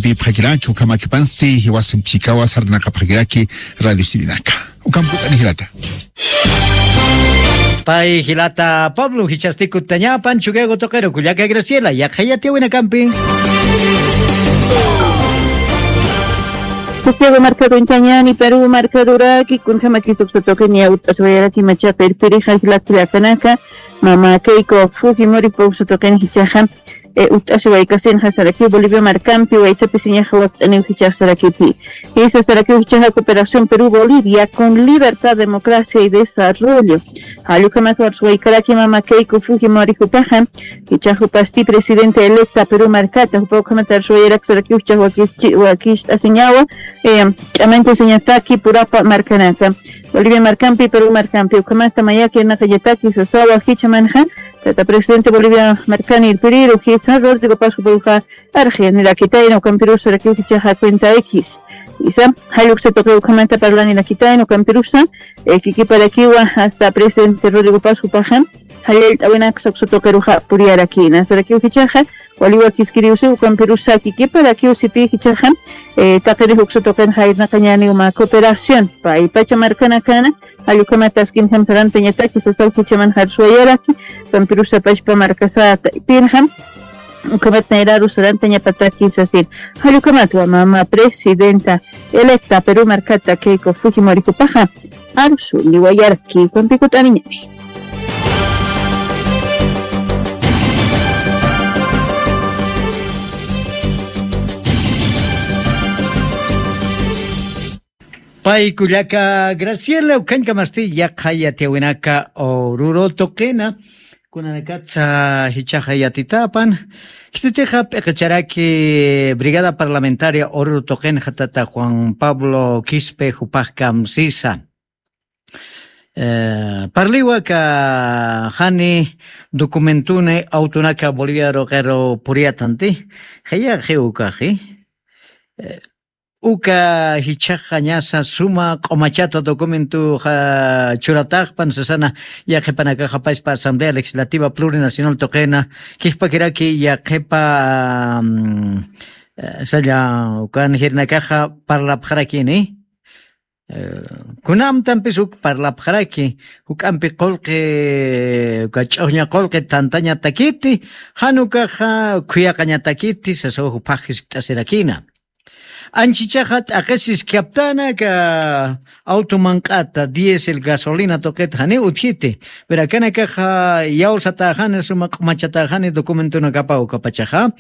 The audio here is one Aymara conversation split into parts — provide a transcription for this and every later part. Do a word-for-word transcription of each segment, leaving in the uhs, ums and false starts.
Ipxakiraki, ukhamakipansti, jiwasan chikawa sarnaqapxakiraki, radio sirinaka. Ukham kut'ani jilata. Pay jilata Pablo, jichhasti kutañapan, Chukiyawu tuqiru, kullaka Graciela, yaqha yatiyawinakampi. Santiago markaduñtañani, Perú markaduraki, kunjamakis uksa tuqini utt'asiwayaraki machaqa irpirixa jilat kullakanaka, mama Keiko Fujimori uksa tuqini jichhaxa, eh, utt'asiwaykasinxa sarakiw Bolivia markampi, waytapisiñaxa wakt'aniw jichhaxa sarakipi. Jisa sarakiw jichhaxa Cooperación Perú Bolivia con libertad, democracia y desarrollo. Jall ukhamat arsuwaykaraki mama Keiko Fujimori jupaxa, jichhax jupasti presidenta electa Perú markata, jupa ukhamat arsuwayarak sarakiw jichhax wakichi-, wakist'asiñawa, eh, ch'amanchasiñataki purapa markanaka. Bolivia markampi, Perú markampi, ukhamata mayaki irnaqañataki sasawa jichhamanxa, tata presidente Bolivia markani irpiriru, jisa Rodrigo Paz jupaxa, arxi, nirakitayna, ukampirusa sarakiw jichhaxa cuenta X. Jisa, jall uksa tuqi ukhamata parlani rakitayna, ukampirusa, eh, kikiparakiwa, hasta presidente Rodrigo Paz jupaxa, jall allt'awinaksa uksa tuqiruxa puriyarakïna. Sarakiw jichhaxa, wali wakiskiriw si, ukampirusa kikiparakiw sipi jichhaxa, eh, taqirix uksa tuqinxa irnaqañäni uma cooperación, pay pacha markanakana, jall ukhamat askinjam sarantañataki sasaw jichhamanxa arsuwayaraki, ukampirusa pachpa markasata ipinjam, ukhamat nayraru sarantañapataki sasin. Jall ukhamatwa mama presidenta electa Perú markata Keiko Fujimori jupaxa, arsuwayaraki, ukampi kut'aniñäni. Pay kullaka Graciela, ukhañkamasti yaqha yatiyawinaka Oruro tuqina, kunanakatsa jichhaxa yatitapan, khititixa p'iqicharaki Brigada Parlamentaria Oruro tuqinxa tata Juan Pablo Quispe jupax kamsisa. Eh, parliwa aka jani documentuni autonaka Bolivia tuqiru puriyatanti, jayaxi ukaxi. Eh, uka jichhaxa ñasa suma q'umachata documentoxa churataxpan sasana, yaqhipanakaxa paspa Asamblea Legislativa Plurinacional tuqina, kijpakiraki yaqhipa, mm, eh, salla ukan jirinakaxa parlapxarakini. Eh, kunamtampis uk parlapxaraki, juk'ampi qullqi, uka ch'uxña qullqi tantañatakiti, jan ukaxa khuyaqañatakiti, sasaw jupax jiskt'asirakïna. Anchichaxa t'aqhis jiskaptana aka auto manq'ata, diésel, gasolina tuqit janiw utjiti. Pero akanakaxa yawsatäxani, suma q'umachatäxani documentonakapaw ukapachaxa.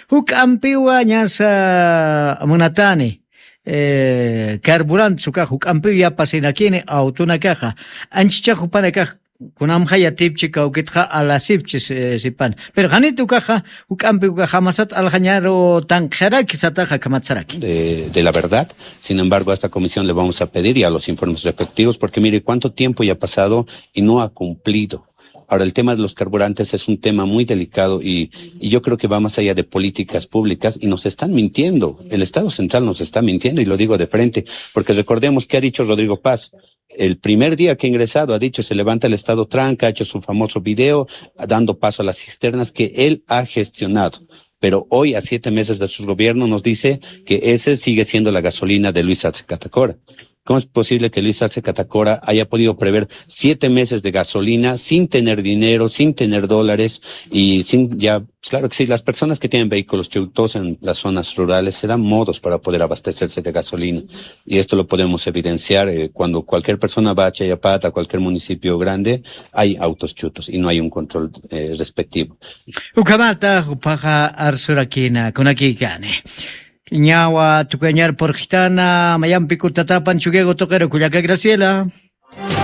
Juk'ampiwa ñasa munatani, eh, carburante, ukax juk'ampiw yapasirakini autonakaxa. Anchichax jupanakax kunamxa yatipchi kawkitxa alasipchi, eh, sipan. Pero janit ukaxa, juk'ampi ukax jamasat aljañaru tanqjaraki sataxa, akhamat saraki. De, de la verdad. Sin embargo, a esta comisión le vamos a pedir ya los informes respectivos, porque mire cuánto tiempo ya ha pasado y no ha cumplido. Ahora, el tema de los carburantes es un tema muy delicado y, y yo creo que va más allá de políticas públicas y nos están mintiendo. El Estado Central nos está mintiendo y lo digo de frente, porque recordemos qué ha dicho Rodrigo Paz. El primer día que ha ingresado ha dicho, se levanta el Estado tranca, ha hecho su famoso video dando paso a las cisternas que él ha gestionado. Pero hoy, a siete meses de su gobierno, nos dice que ese sigue siendo la gasolina de Luis Arce Catacora. ¿Cómo es posible que Luis Arce Catacora haya podido prever siete meses de gasolina sin tener dinero, sin tener dólares y sin ya, pues claro que sí, las personas que tienen vehículos chutos en las zonas rurales se dan modos para poder abastecerse de gasolina. Y esto lo podemos evidenciar, eh, cuando cualquier persona va a Chayapata, a cualquier municipio grande, hay autos chutos y no hay un control, eh, respectivo. Ukhamata, jupaxa arsurakïna, kunakïkani. Ñawa tukuyañar purxitana, mayampi kutatapan Chukiyawu tuqiru kullaka Graciela.